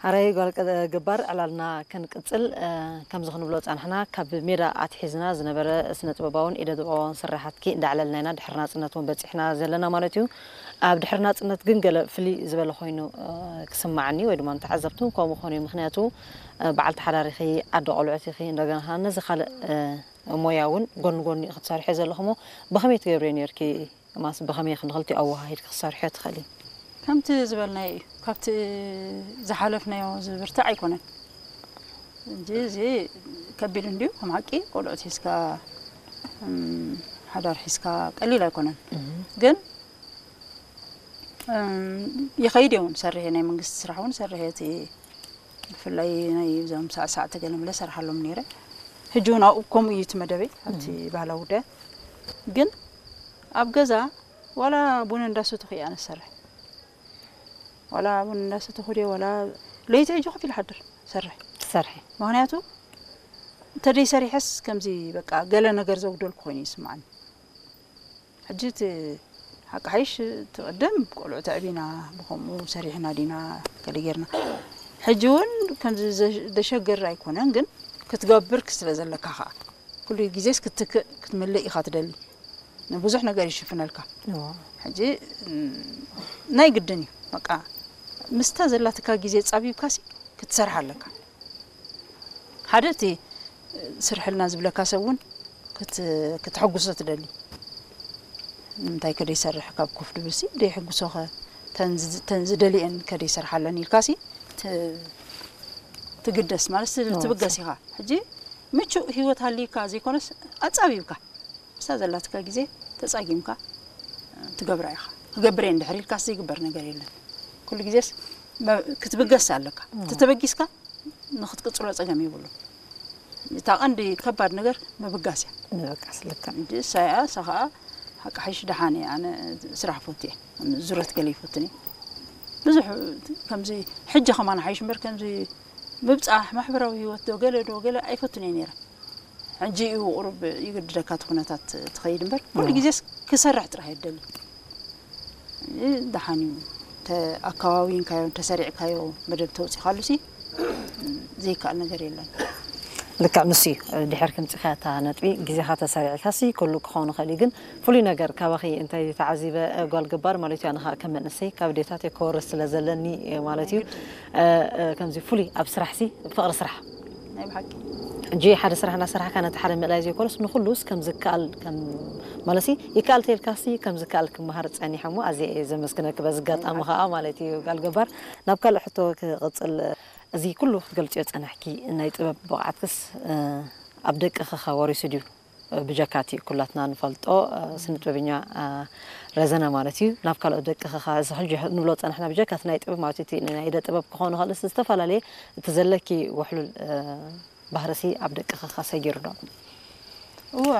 ሓራይ ጓል ገባር ዕላልና ክንቅጽል። ከምዚ ክንብሎ ጻንሕና፣ ካብ ሜዳ ኣትሒዝና ዝነበረ ስነ ጥበባውን ኢደ ጥበባውን ስራሓትኪ እንዳዕለልና ኢና ድሕሪ ናጽነት እውን በጺሕና ዘለና ማለት እዩ። ኣብ ድሕሪ ናጽነት ግን ገለ ፍልይ ዝበለ ኮይኑ ክስማዓኒ ወይ ድማ ንተዓዘብቲ እውን ከምኡ ክኾኑ እዩ። ምክንያቱ በዓልቲ ሓዳር ኢኺ፣ ኣደ ቆልዑት ኢኺ፣ እንደገና ነዚ ካልእ ሞያ እውን ጎን ጎኒ ክትሰርሒ ዘለኹሞ ብኸመይ ትገብሪ ነርኪ? ማስ ብኸመይ ክንኽልቲ ኣወሃሂድ ክትሰርሒ ትኽእሊ? ከምቲ ዝበልናዮ እዩ። ካብቲ ዝሓለፍናዮ ዝብርትዕ ኣይኮነን። እንጂ እዚ ከቢድ እንድዩ። ከም ሓቂ ቆልዑት ሒዝካ ሓዳር ሒዝካ ቀሊል ኣይኮነን። ግን ይኸይድ እውን ሰርሐ፣ ናይ መንግስቲ ስራሕ እውን ሰርሐ። እቲ ብፍላይ ናይ እዞም ሳዕሳዕቲ ገለ መለ ሰርሓሎም ነይረ። ሕጂ እውን ኣብኡ ከምኡ እዩ እቲ መደበይ ኣብቲ ባህላዊ ጉዳይ። ግን ኣብ ገዛ ዋላ ቡን እንዳሰተኹ እየ ኣነ ዝሰርሕ። ዋላ ቡን እንዳሰተኹ ድየ ዋላ ለይቲ ሕጂ ኮፍ ኢለ ሓድር ሰርሕ። ትሰርሒ? ምክንያቱ እንተደይ ሰሪሐስ ከምዚ በቃ ገለ ነገር ዘጉደልኩ ኮይኑ ይስምዓኒ። ሕጂ እቲ ሓቂ ሓይሽ ትቕድም ቆልዑ ተዕቢና ብኸምኡ ሰሪሕና ዲና ገለ ጌርና። ሕጂ እውን ከምዚ ዘ- ዘሸግር ኣይኮነን፣ ግን ክትገብር ስለ ዘለካ ከዓ ኩሉ ግዜስ ክትክእ ክትምልእ ኢኻ ትደሊ። ንብዙሕ ነገር ይሽፍነልካ። ሕጂ ናይ ግድን እዩ በቃ ምስታ ዘላትካ ግዜ ጻቢብካሲ ክትሰርሕ ኣለካ። ሓደ እቲ ስርሕልና ዝብለካ ሰብ እውን ክትሕግሶ ትደሊ። ንምንታይ ከደይሰርሕ ካብ ኮፍ ድብልሲ ደይሕግሶኸ ተን ዝደልየን ከደይሰርሓለን ኢልካሲ ትግደስ ማለት ትብገስ ኢኻ። ሕጂ ምቹእ ህይወት ሃልይካ ዘይኮነስ ኣጻቢብካ ምስታ ዘላትካ ግዜ ተጻጊምካ ትገብራ ኢኻ። ክገብር እየ እንድሕር ኢልካስ ዘይግበር ነገር የለን። ኩሉ ግዜስ ክትብገስ ኣለካ። ተተበጊስካ ንክትቅጽሎ ጸገም የብሉ። እታ ቀንዲ ከባድ ነገር ምብጋስ እያ። ምብጋስ ልካ። እንጂ እሳ እያ፣ እሳ ኸዓ ሓቂ ሓይሽ ደሓን እየ ኣነ ስራሕ ፈቱ እየ። ዙረት ገለ ይፈቱን እየ። ብዙሕ ከምዚ ሕጂ ከማን ሓይሽ እምበር ከምዚ ምብጻሕ ማሕበራዊ ህይወት ዶ ገለ ዶ ገለ ኣይፈቱን እየ ነይረ። ሕጂ እዩ ቁሩብ ይግድደካ እቲ ኩነታት ትኸይድ እምበር ኩሉ ግዜስ ክሰርሕ ጥራሕ እየ ደሊ። ደሓን እዩ። ኣከባቢንካዮ ተሰሪዕካዮ መደብ ተውፂኻሉ ሲ ዘይከኣል ነገር የለን። ልክዕ ንሱ እዩ። ድሕር ክምፅኻ እታ ነጥቢ ግዜኻ ተሰሪዕካ ሲ ኩሉ ክኸውን ይኽእል እዩ፣ ግን ፍሉይ ነገር ካባኺ እንታይ ተዓዚበ ጓል ገባር ማለት እዩ፣ ኣነ ከዓ ከም መንእሰይ ካብ ዴታት ክወርስ ስለ ዘለኒ ማለት እዩ። ከምዚ ፍሉይ ኣብ ስራሕ ሲ ፍቕሪ ስራሕ ናይ ብሓቂ ሕጂ ሓደ ስራሕ እናሰራሕካ ነቲ ሓደ ምእላይ ዘይኮነስ ንኹሉስ ከም ዝከኣል ከም ማለት ሲ ይከኣል ተልካሲ ከም ዝከኣል ክመሃር ጸኒሐ እሞ ኣዝየ እየ ዘመስግነኪ በዚ ኣጋጣሚ ከዓ ማለት እዩ። ጋል ገባር ናብ ካልእ ሕቶ ክቕጽል፣ እዚ ኩሉ ክትገልጽዮ ጸናሕኪ ናይ ጥበብ ብቕዓትክስ ኣብ ደቅኺ ከ ወሪሱ ድዩ? ብጀካቲ ኩላትና ንፈልጦ ስነ ጥበበኛ ረዘነ ማለት እዩ። ናብ ካልኦት ደቅኺ ከ እዚ ሕጂ ንብሎ ጸናሕና ብጀካቲ ናይ ጥበብ ማለት እቲ ናይ ኢደ ጥበብ ክኾኑ ካልእ ዝተፈላለየ እቲ ዘለኪ ውሕሉል ባህርሲ ኣብ ደቅኺ ከ ሰጊሩ ዶ? እወ፣